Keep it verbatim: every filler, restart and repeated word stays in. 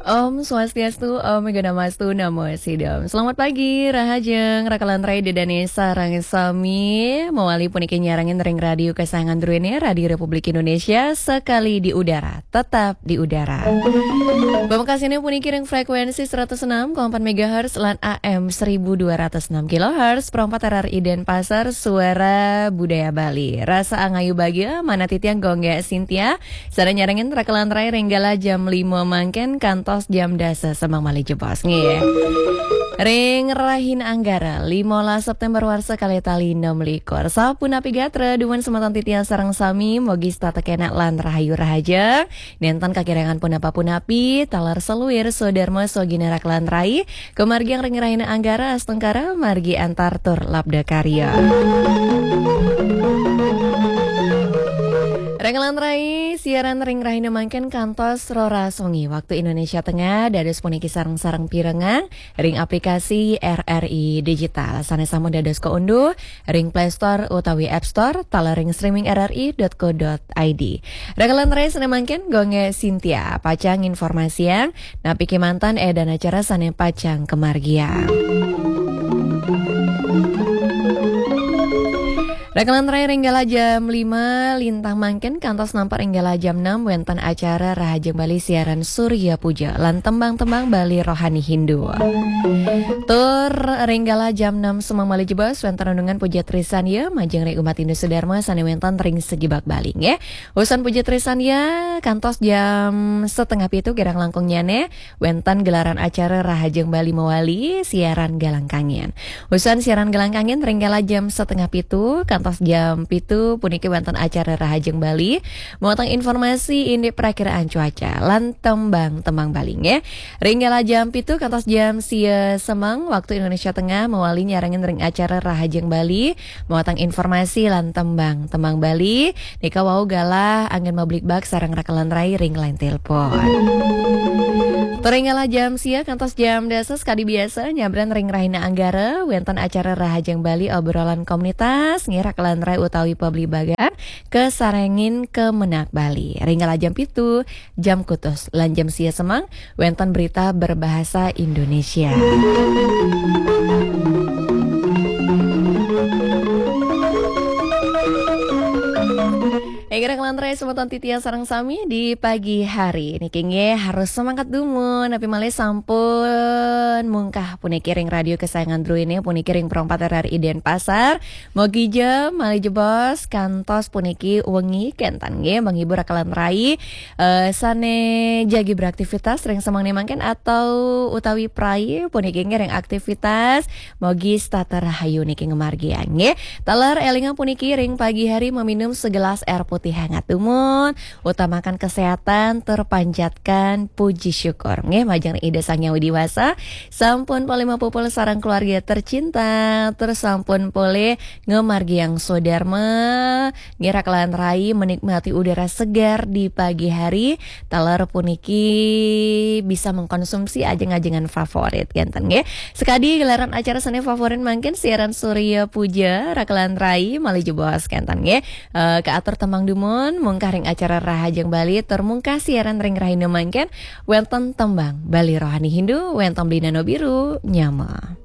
Om Swastiastu, Om Gana Mastu, Namo Sidam. Selamat pagi, rahajeng, rakalan rai dedane sareng sami. Mawali puniki nyarengin ring radio kesayangan druene, Radio Republik Indonesia, sekali di udara, tetap di udara. Pamekasine puniki ring frekuensi seratus enam koma empat megahertz lan A M seribu dua ratus enam kilohertz, pro empat R R I Denpasar, Suara Budaya Bali. Rasa angayu bagia, manah titiang Gongge Sintia, Sane nyarengin rakalan rai ring galah jam lima mangkin kantos jam dasa semeng malih jebos nggih. Ring rahina Anggara, limolas September warsa kalih tali enam likur. Sapunapi gatra dumun semeton titiang sareng sami, mugi setata kenak lan rahayu rahaja. Nenten kakirangan punapa-punapi, taler saluir, sadarma, sogina rakalan rai, kamargiang ring rahina Anggara, astungkara, margi antar tur labda karya. Rakalan rai, siaran ring rahina mangkin kantos roras wengi waktu Indonesia Tengah, dados puniki sareng-sareng pirengang ring aplikasi R R I Digital. Sane sampun dados kaunduh ring Play Store utawi App Store, taler ring streaming R R I dot co dot I D. Rakalan rai, sane mangkin Gongge Sintia pacang informasiang napi kemanten edan acara sane pacang kamargiang. Rakalan rai, ring galah jam lima lintang mangkin kantos nampek ring galah jam enam wenten acara Rahajeng Bali siaran Surya Puja lan tembang-tembang Bali rohani Hindu. Tur ring galah jam enam semeng malih jebos wenten renungan puja trisandya majeng ring umat Hindu sedharma sane wenten ring sajebag Bali nggih. Usan puja trisandya kantos jam setengah pitu kirang langkungnyane wenten gelaran acara Rahajeng Bali mawali siaran Galang Kangin. Usan siaran Galang Kangin ring galah jam setengah pitu kantos jam pitu puniki wenten acara Rahajeng Bali, mawatang informasi indik prakiraan cuaca lan tembang-tembang Bali nggih. Ring galah jam pitu kantos jam sia semeng waktu Indonesia Tengah mawali nyarengin ring acara Rahajeng Bali, mawatang informasi lan tembang-tembang Bali. Nika wau galah anggen mabligbagan sareng rakalan rai ring line telepon. Tur ring galah jam sia kantos jam dasa sakadi biasa nyabran ring rahina Anggara wenten acara Rahajeng Bali obrolan komunitas nggih rakalan rai utawi pabligbagan kasarengin kemenak Bali. Ring galah jam pitu, jam kutus lan jam sia semeng wenten berita berbahasa Indonesia. Inggih rakalan rai semeton titiang sareng sami di pagi hari niki nggih harus semangat dumun, napi malih sampun mungkah puniki ring radio kesayangan druene puniki ring Pro empat R R I Denpasar. Mogi ja malih jebos kantos puniki wengi kenten nggih menghibur rakalan rai eh, sane jagi beraktivitas ring semengne mangkin atau utawi prai puniki nggih ring aktivitas. Mogi setata rahayu niki ngamargiang nggih. Taler elingang puniki ring pagi hari meminum segelas air putih hangat dumun, utamakan kesehatan, tur panjatkan puji syukur nggih majeng Ida Sang Hyang Widi Wasa. Sampun polih mapupul sareng keluarga tercinta, tur sampun polih ngamargiang swadarma, nggih rakalan rai menikmati udara segar di pagi hari, taler puniki bisa mengkonsumsi ajeng-ajengan favorit kenten nggih. Sekadi gelaran acara sane favorit mangkin siaran Surya Puja, rakalan rai malih jebos kenten nggih. Eh, kaatur tembang dumun mungkah ring acara Rahajeng Bali tur mungkah siaran ring rahina mangkin wenten tembang Bali rohani Hindu wenten Beli Nano Biru nyama.